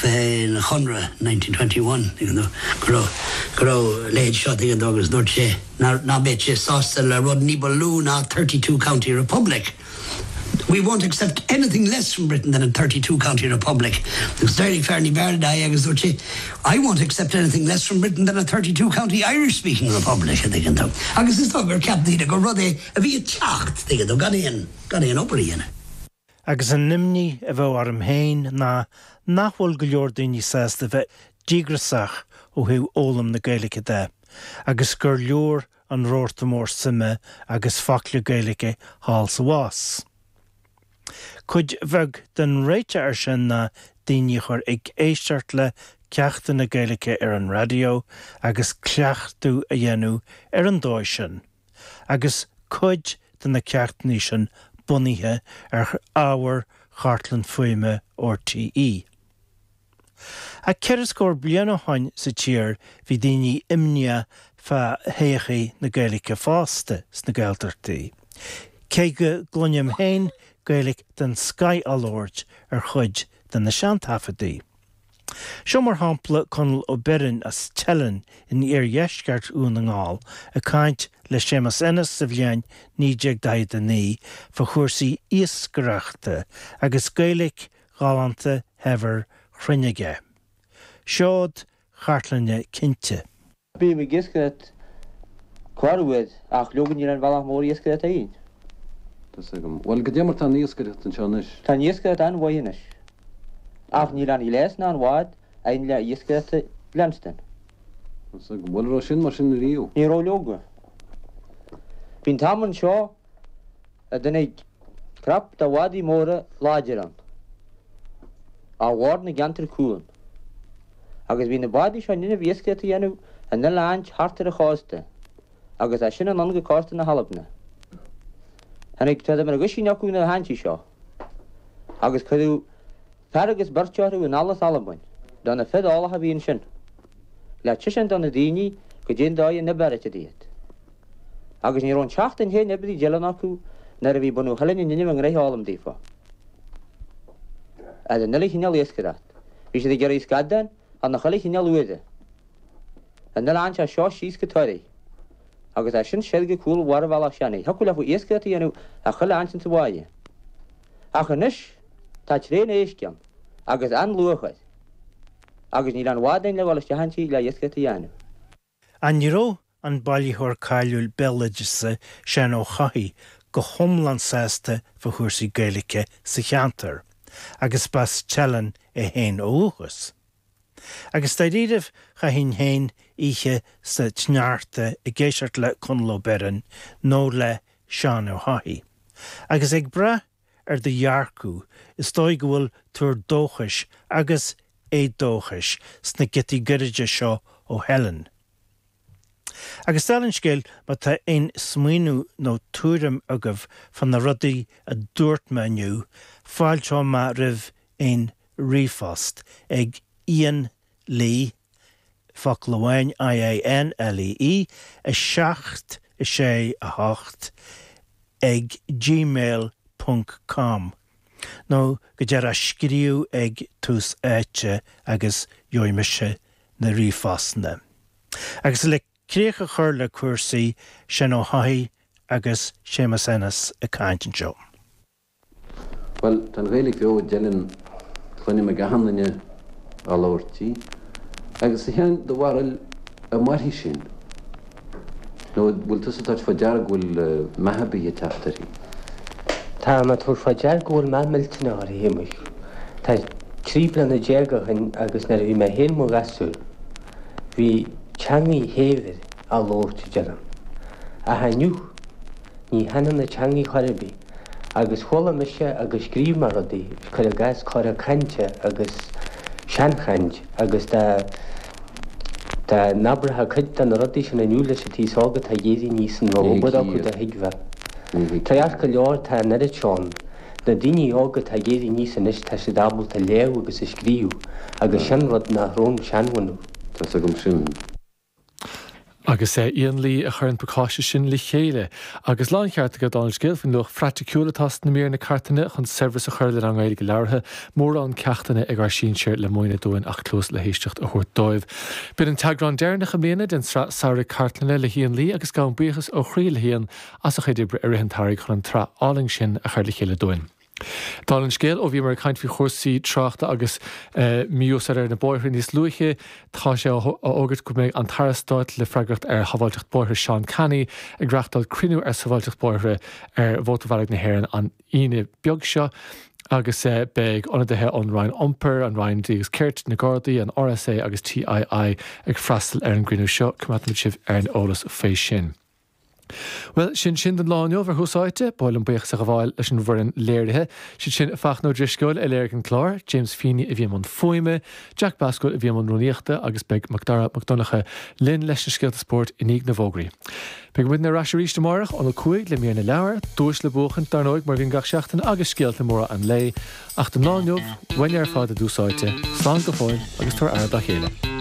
fén Chonradh 1921, tuigeann tú, go raibh, go raibh a leithéid seo, tuigeann tú, agus dúirt sé ná, ná beadh sé sásta le rud ní ba lú ná 32 county republic. We won't accept anything less from Britain than a 32 county republic. Agus d'éirigh fear ní b'fhearr é agus dúirt sé, I won't accept anything less from Britain than a 32 county Irish speaking republic, a dtuigeann tú. Agus is dóigh gur cheap daoine gur rud é a bhí ag teacht, tuigeann tú, gan aon, gan aon obair a dhéanamh. Agus an imní a bheadh orm féin ná nach bhfuil go leor daoine sásta bheith díograsach ó thaobh fhoghlaim na Gaeilge de, agus gur leor an rabharta mór suime agus focla Gaeilge thall 's abhus. Cuid bheag den réiteach air sin ná daoine a chur ag éisteacht le ceachtanna Gaeilge ar an raidió agus cleachtadh a dhéanamh ar an dóigh sin, agus cuid de na ceachtanna sin bunaithe ar ábhar Chartlann Fuaime RTÉ. Ach ceithre scór bliain ó shoin sa tír bhí daoine imníoch fá thodhchaí na Gaeilge fosta sna Gaeltachtaí, cé go gcluinim féin Gaeilge den scoith á labhairt ar chuid de na seantaifeadtaí. Seo mar shampla Conall Ó Beirn as Teileann in iardheisceart Dhún na nGall ag caint le Séamus Ennis sa bhliain 1949 fá chúrsaí iascaireachta agus Gaeilge ghalánta shaibhir chruinn aige. Seod chartlainne cinnte. Bím ag iascaireacht corruair ach leoga níl aon bhealach mór iascaireachta againn. Tá's agam. Bhuel, goidé mar tá an iascaireacht anseo anois? Tá an iascaireacht an-mhaith anois. Ach níl aon ghléas ná aon bhád againn le iascaireacht a leanstan. Tá's agam. Bhuel, an raibh sin mar sin ariamh? Ní raibh leoga. Bhí an t-am anseo a dtáinig crap de bhádaí móra láidir ann, ó bhord na gceantar cuan, agus bhí na bádaí seo in innimh iascaireacht a dhéanamh in uile áit thart ar an chósta, agus as sin anonn go cósta na hAlbna. Tháinig tada mar aguisín acu na háintí seo, agus cuireadh fear agus beirt orthu anall as Albain, do na fir eolacha a bhí ansin, le tuiscint do na daoine goidé an dóigh a n-oibreoidís iad. Agus ní raibh an tseachtain féin oibrithe i dTeileann acu nuair a bhí bunadh Theilinn in innimh a ngnoithe a fhoghlaim daofa. Ar an uile chineál iascaireacht, bhí siad ag iarraidh scadán ar na chuile chineál uaire. An uile áint as seo síos go Toraigh. Agus as sin soir go cúl bharr Bhealach Seanaidh. Thiocfadh leofa iascaireacht a dhéanamh ar chuile áint insa bháighe. Ach anois tá tréan éisc ann, agus an-luach air. Agus níl aon bhád againn le dhul isteach inti le iascaireacht a dhéanamh. Ach ní raibh an bailitheoir cáiliúil béaloideasa Seán Ó hEochaidh go hiomlán sásta fá chúrsaí Gaeilge sa cheantar, agus b'as Teileann é féin ó dhúchas. Agus dáiríribh chaithfinn féin oíche sa tsneachta ag éisteacht le Conall Ó Beirn nó le Seán Ó hEochaidh. Agus ag brath ar do dhearcadh, is dóigh go bhfuil tuar dóchais agus éadóchais sna giotaí gairide seo ó Theileann. Agus dála an scéil, má tá aon smaoineamh nó tuairim agaibh fá na rudaí a dúirt mé inniu, fáilteoidh mé roimh aon ríomhphost ag Ian Lee, focal amháin, I-A-N-L-E-E, 7, 6, 8, ag gmail ponc com nó go díreach scríobh ag Tús Áite agus gheobhaidh mise na ríomhphostanna. Agus le críoch a chur le cúrsaí, Seán Ó hEochaidh agus Séamus Ennis ag caint anseo. Bhuel, tá an Ghaeilge bheo i dTeileann, cluinim ag achan duine á labhairt í. Agus a Sheáin, do bharúil, an mairfidh sin? Nó an bhfuil tusa ag tabhairt fá deara go bhfuil meath ar bith ag teacht uirthi? Tá mé ag tabhairt fá deara go bhfuil meath millteanach uirthi, a Shéamuis. Tá 13 bliana ó shin agus nuair a bhí mé féin mo ghasúr, bhí teangaidh shaibhir á labhairt i dTeileann. Ach inniu, Ní thaitneann na teangaidh chor ar bith. Agus chuala mise agus scríobh mé rudaí, cuir i gcás cora cainte agus seanchaint agus dá dá n-abraitheá cuid de na rudaí sin inniu leis an t-aos óg atá ag éirí aníos an raibh obair acu do thuigbheá. Tá go leor, tá an oiread seo ann. Na daoine óga atá ag éirí aníos anois tá siad ábalta léamh agus a scríobh agus sin rud nach raibh an seanbhunadh. Tá's agam sin. Agus Ian Lee a chuir an pacáiste sin le chéile. Agus láncheart aige dála an scéil faoin luach phraiticiúil atá sna míreanna cartlainne chun saibhreas a chur lenár nGaeilge labhartha, mórán ceachtanna ag ár sinsir le múineadh dúinn ach cluas le héisteacht a thabhairt dóibh. B'in an t-eagrán deireanach i mbliana den tsraith samhraidh cartlainne le hIan Lee agus gabhaim buíochas ó chroí le hIan as a chuid oibre i rith an tsamhraidh chun an tsraith álainn sin a chur le chéile dúinn. Dála an scéil, ó bhíomar ag caint faoi chúrsaí tráchta agus mí-úsáid ar na bóithre níos luaithe, tá sé á fhógairt go mbeidh an tAire Stáit le freagracht ar shábháilteacht bóithre Seán Canney ag reachtáil cruinniú ar sábháilteacht bóithre ar Mhótarbhealaigh na hÉireann an Aoine beag seo agus beidh ionadaithe ón Roinn Iompair, an Roinn Dlí agus Cirt, na Gardaí, an RSA agus TII ag freastal ar an gcruinniú seo. Coimeádfaimid sibh ar an eolas faoi sin. Bhuel, sin sin don lá inniu ar Thús Áite. Ba mhaith liom buíochas a ghabháil leis an bhfoireann léirithe. Siad sin Fachtna Ó Drisceoil a léirigh an clár, James Feeney a bhí i mbun fuaime, Jack Basquel a bhí i mbun rúnaíochta agus beidh Macdara Mac Donncha linn leis na scéalta spóirt i ndiaidh na bhfógraí. Beidh muidne ar ais arís amárach óna 5 le mír na leabhar, duais le buachaint, dar ndóigh, mar a bhíonn gach seachtain, agus scéalta móra an lae. Ach don lá inniu, uainne ar fad i dTús Áite, slán go fóill agus tabhair aire dá chéile.